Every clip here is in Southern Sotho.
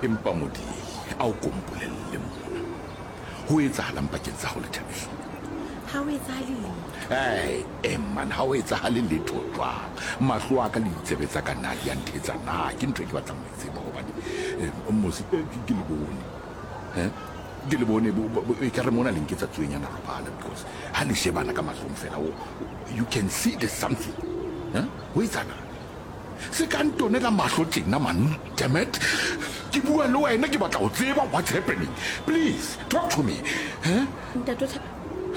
Empa Modiehi, a o ko mpolelle mona, ho etsahalang pakeng tsa hao le Thabiso? Ha ho etsahale letho. Ee, e man, ha ho etsahale letho jwang? Mahlo a ka le ditsebe tsa ka na di a nthetsa na? Ke ntho e ke batlang ho e tseba hobane eh, mose eh, ke le bone. Eh? Ke le bone ekare mona le nketsa tsuenyana robala because ha le shebana ka mahlong fela you can see there's something. Eh? Ho etsahalang? Se ka ntonela mahlo tjena man, damn it. Ke bua le wena ke batla ho tseba what's happening. Please, talk to me. Eh? Ntate o Thabo,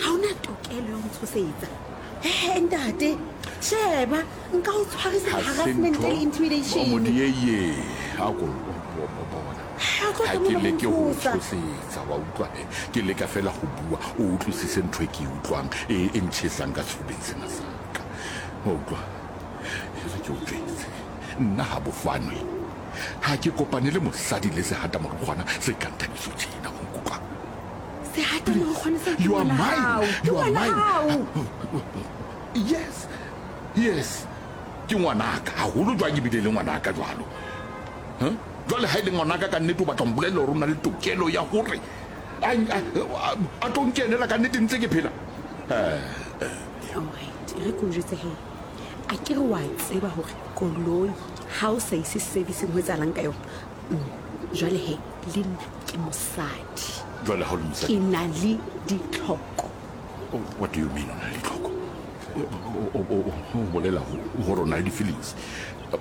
ha o na tokelo ya ho ntshosetsa. He ntate, sheba, nka o tshwarisa Ha se harassment ntho le intimidation. Modieye, a ko bona. Ha o tlo Ha tla ke mona ho leke ho o ntshosa. tshosetsa, wa utlwa he. Ke leka fela ho bua, o utlwisise ntho e ke e utlwang, e e ntjhesang ka sefubeng sena sa ka. Wa utlwa? E re ke o jwetse, nna ha bofanwe ha ke kopane le mosadi le sehatamorokgwana se kang Thabiso tjena, wa nkutlwa? Sehatamorokgwana seo ke You are ngwana mine. hao. Ke You are ngwana mine. hao. Yes. Yes. Ke ngwanaka, haholo jwang ebile e le ngwanaka jwalo. Huh? Jwale ha e le ngwanaka ka nnete o batla ho mpolella hore o na le tokelo ya hore a, a, a, a tlo nkenela ka nnete ntse ke phela? Eh, eh. All right, e re ke o jwetse he. A ke re wa tseba hore koloi ha o sa ise servicing ho etsahalang ka yona? Jwale he, le nna ke mosadi. Jwale ha o le mosadi? Ke na le ditlhoko. Oh, what do you mean o na le ditlhoko? O bolela gore o na le di-feelings?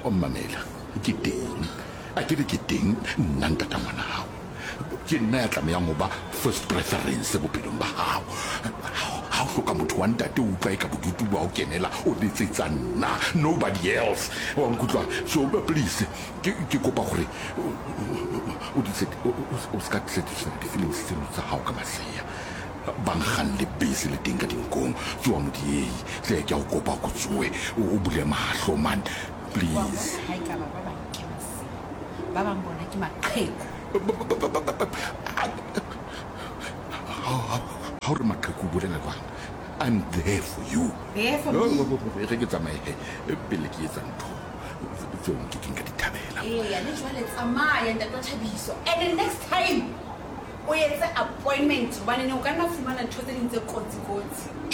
Mamela, ke teng. A ke re ke teng nna ntata ngwana hao. Ke nna ya tlamehang ho ba first preference bophelong ba hao. Ha o hloka motho wa ntate o utlwa eka bodutu bo a o kenela, o letsetsa nna, nobody else. Wa nkutlwa? So please, ke ke kopa gore o di o ska satisfy di-feelings tseno tsa hao ka masea. Ba nkgang lebese le teng ka dinkong. Tsoha Modiehi, hle ke a o kopa o ko tsohe, o bule mahlo man. Please. Wa bona ha ekaba ba bang ke masea, ba bang bona ke maqheku. Ha o re maqheku o bolela jwang? I'm there for you. There for me. E re ke tsamaye he pele ke etsa ntho tseo nke keng ka di thabela. Eya, le jwale tsamaya ntate wa Thabiso. And the next time o etse appointment hobane ne o ka nna fumana ntho tse ding tse kotsi kotsi.